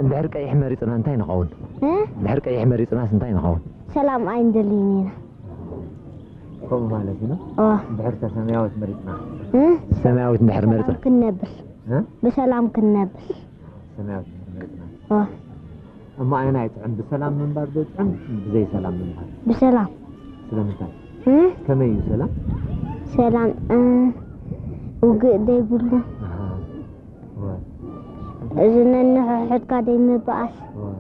ድሕር ቀይሕ መሪፅና እንታይ ንኸውን? እ? ድሕር ቀይሕ መሪፅናስ እንታይ ንኸውን? ሰላም ኣይንደልይን ኢና። ከምኡ ማለት እዩ። ኦ ድሕርተ ሰማያዊት መሪፅና እ? ሰማያዊት እንድሕር መሪፅና ክንነብር እ? ብሰላም ክንነብር። ሰማያዊት እንድሕር መሪፅና ኦ እሞ ኣየናይ ጥዕም? ብሰላም ምንባር ዶ ጥዕም ብዘይ ሰላም ምንባር? ብሰላም ስለምንታይ? እ? ከመይ እዩ ሰላም? ሰላም እ፣ ውግእ ዘይብሉ ኣሃ። ወ- እዚ ነንሕሕድካ ዘይምበኣስ ወ-